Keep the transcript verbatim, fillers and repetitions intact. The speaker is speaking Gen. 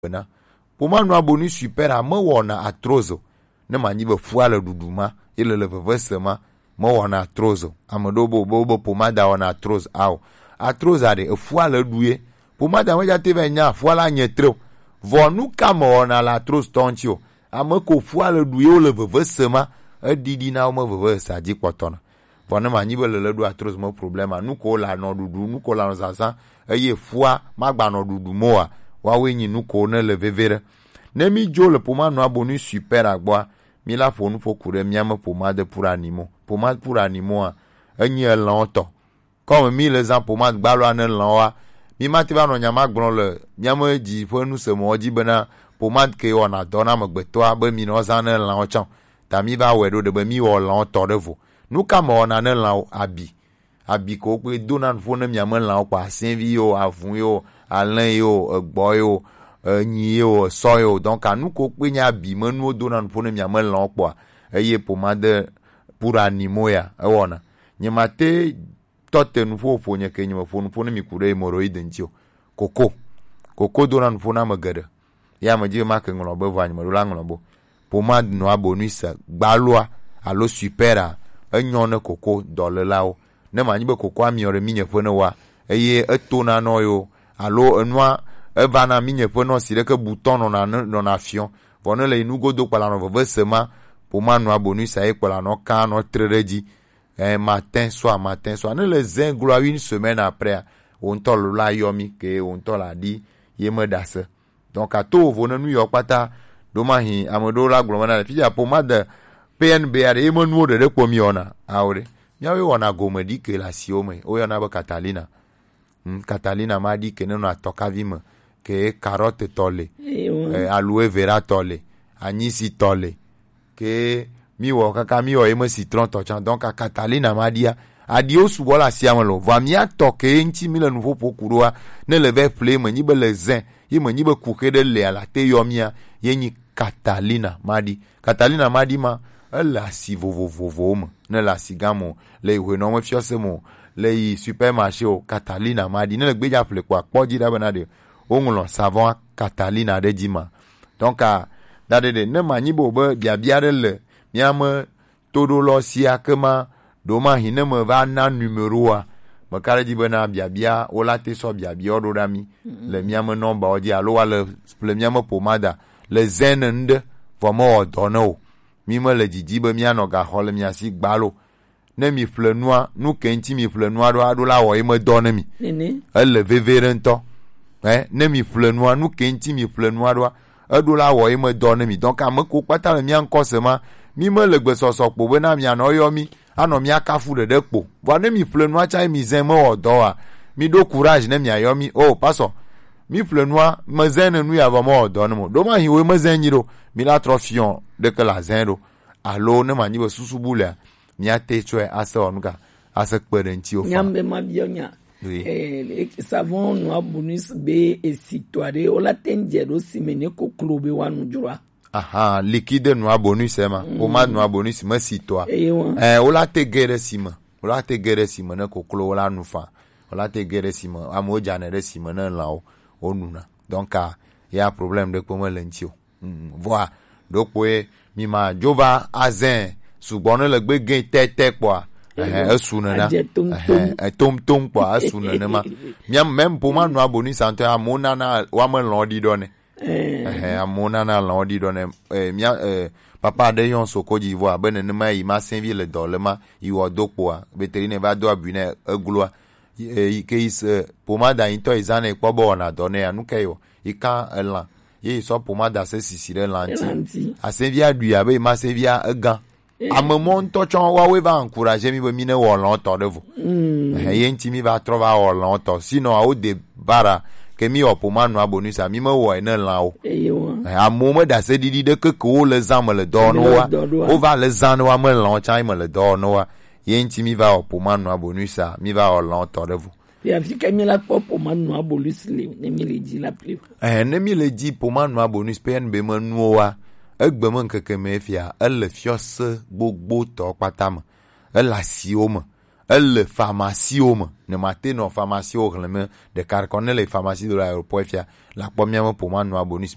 bena, pomade Noir Bonus Super a mewɔna arthrose o. Ne manyi be fua le ɖuɖu ma, ye le le veve se ma, mewɔna arthrose o. Ame ɖewo be, be, be pomade wɔna arthrose, ao. Arthrose a ɖe, efua le ɖu ye. Pomade a medza te va nya fua la nye tre o. Vɔ nu ka me wɔna le arthrose tɔ ŋuti o? Ame ko fua le ɖu ye wo le veve se ma, eɖiɖi na wo me veve se dzi kpɔtɔ na. Vɔ ne manyi be le le ɖo arthrose me problème a, nu ko le anɔ ɖuɖu, nu ko le anɔ zazã, eye fua magba nɔ ɖuɖu mo a, woawoe nyi nu ko ne le veve ɖe. Ne mi dzo le pomade Noir Bonus Super a gbɔa, mi la ƒo nu ƒo ku ɖe mia me pomade pour animaux. Pomade pour animaux a, enyi elãwo tɔ. Comme mi le zã pomade gbaloa ne lãwoa, mi mate va nɔ nya ma gblɔ le mia me dzi ƒe nu se mɔ dzi bena pomade ke wɔna dɔ na amegbetɔa be mi nɔ zã ne lãwo tsã. Ta mi va wɔe ɖo ɖe be mi wɔ lãwo tɔ ɖe vo. Nu ka me wɔna ne lãwo? Abi. Abi ko kpe dona nuƒo ne mia me lãwo kpɔ, asɛvi yo, avu yo, alẽ yo, egbɔ yo, enyi yo, esɔ yo. Donc anu ko kpe nya abi me nuwo dona nuƒo ne mia me lãwo kpɔa, eye pomade pour animaux ya ewɔna. Nye mate tɔ te nuƒo ƒo nye ke nye me ƒo nuƒo ne mi ku ɖe hémorroïde ŋuti o. Koko. Koko dona nuƒo na ame geɖe. Ya me dzi be make ŋlɔ be vɔ anyime ɖo la ŋlɔ be pomade Noir Bonus gbaloa alo Super a, enyɔ ne koko dɔlelawo. Ne manyi be kokoa miɔ ɖe minye ƒe ne wa, eye etona nɔ yo, alo enua eva na minye ƒe nɔ si ɖeke butɔ nɔna, nɔna fiɔ. Vɔ ne le yi nugodo kpala nɔ veve se ma, pomade Noir Bonus a ye kpala nɔ kan nɔ tre ɖe dzi. Eh, matin, soir, matin, soir. Ne le zin gloa une semaine après a, wo ŋutɔ lo la yɔ mi, ke wo ŋutɔ la ɖi, ye me ɖase. Donc, ato vovo ne nu yɔ kpata, ɖo ma hi, ame ɖewo la gblɔ me na le. Fifia pomade P N B a ɖe, ye me nuwo ɖeɖe kpɔ mi wɔna, ao ɖe. Miawo ye wɔna gome ɖi ke le asiwo me, wo yɔna be Catalina. Hmm, Catalina ma ɖi ke ne nɔ atɔkavi me, ke carotte tɔ le, eh, aloe vera tɔ le, anisi tɔ le, ke mi wɔ kaka mi wɔ ye me citron tɔ tsã. Donc Catalina ma ɖia, aɖiwo sugbɔ le asia me lo. Vɔa mia tɔ ke ŋuti mi le nuƒoƒo ku ɖoa, ne le vɛ ƒle me nyi be le zin, ye me nyi be kuxe ɖe le ala te yɔ mia, ye nyi Catalina ma ɖi. Catalina ma ɖi ma, ele asi vovovowo me. Ne le asigã me o, le yi hwenɔ me fiɔse me o, le yi supermarché o, Catalina ma ɖi. Ne le gbedza ƒle kpɔ akpɔ dzi ɖa bena ɖe woŋlɔ savon Catalina ɖe dzi ma. Donc, a, da ɖe ɖe, ne manyi be o be biabia ɖe le mia me toɖolɔ sia ke ma, ɖo ma hi ne me va na numéro a, me ka ɖe dzi bena biabia, wo la te sɔ biabia wo ɖo ɖa mi le mia me nɔmba wo dzi, alo wa le ƒle mia me pomada le zin ne ŋɖe, vɔ me wɔ dɔ ne o. Mi me le didi be mia nɔ ga xɔ le mia si gbalo. Ne mi ƒle nua, nu ke ŋuti mi ƒle nua ɖo, aɖo la wɔ ye me dɔ ne mi. Nene. Ele veve ɖe ŋutɔ. Eh, ne mi ƒle nua, nu ke ŋuti mi ƒle nua ɖoa, eɖo la wɔ ye me dɔ ne mi. Donc, ame ko kpata le mia ŋkɔ se ma, mi me le gbesɔsɔ kpo be na mia nɔ yɔ mi, anɔ mia kafu ɖeɖe kpo. Vɔa ne mi ƒle nua tsa ye mi zin me wɔ dɔ wa, mi ɖo courage ne mia yɔ mi. Oh, pasɔ, mi ƒle nua, me zin ne nu ya vɔ me wɔ dɔ ne mo. Ɖo ma hi wo me zin nyi ɖo, mi la trɔ fiɔ ɖeke la zin ɖo. Alo ne manyi be susu bu lea, mia te tsɔe ase wɔ nu ka, ase kpe ɖe ŋuti wo fa. Nyam be ma biɔ nya. Oui. Eh, savon nua bonus be esi tɔ ɖe, wo la te ŋdze ɖo si me ne koklo be wa nu dzroa. Aha, liquide nua bonus ema. Mm. Pomade nua bonus me si tɔa. Eye wa. Eh, wo la te ge ɖe si me. Wo la te ge ɖe si me ne koklo wo la nu fa. Wo la te ge ɖe si me. Amewo dzane ɖe si me ne lãwo wo nuna. Donc, ah, ya problème ɖe kpe me le ŋuti o. Mm, vɔa, ɖokpoe mi ma dzo va azin sugbɔ ne le gbe gɛ tɛtɛ kpɔa. Ehe, esu nena. Adze tom tom. Ehe, etom tom kpɔa, esu nenema. Mia, même pomade nua bonus ŋutɔ, amewo nana, woame lɔ̃ ɖi ɖɔ ne. Eh. Ehe, amewo nana lɔ̃ ɖi ɖɔ ne. Eh, mia, eh, papa ɖe yɔn soko dzi vɔ abe nenema yi ma sɛnvi le dɔ le ma, yi wɔ do kpoa, beteri ne va do abui ne egloa. Yi, eh, yi ke yi se, pomada yi ŋutɔ yi zã ne kpɔ be wɔna dɔ ne ya, nu ke yi wɔ? Yi kan elã. Ye yi sɔ pomada se sisi ɖe lã ŋuti. Lã ŋuti. Asɛnvia ɖui abe yi ma sɛnvia egã. Eh. Ame mɔ ŋutɔ tsɔ woawoe va encourager mi be mi ne wɔ lɔ̃tɔ ɖe vo. Mm. Eh, ye ŋuti mi va trɔ va wɔ lɔ̃tɔ. Sinon, awo de bara ke mi wɔ pomade nua bonus a, mi me wɔe ne lã o. Eye wa. Eh, amewo me ɖase ɖiɖi ɖe keke wo le zã me le dɔ ne wa. Wo va le zã ne wa me lɔ̃ tsã me le dɔ ne wa. Ye ŋuti mi va wɔ pomade nua bonus a, mi va wɔ lɔ̃tɔ ɖe vo. Fia fi ke mi la kpɔ pomade nua bonus le, ne mi le dzi la ple. Eh, ne mi le dzi pomade nua bonus P N B me nuwo wa, egbe me ŋkeke me fia, ele fiɔse gbogbo tɔ kpata me. Ele asiwo me. Ele pharmacie wo me. Ne ma te nɔ pharmacie wo hleme ɖeka ɖeka ne le pharmacie de l'aéroport fia, la kpɔ mia me pour moi nɔ abonus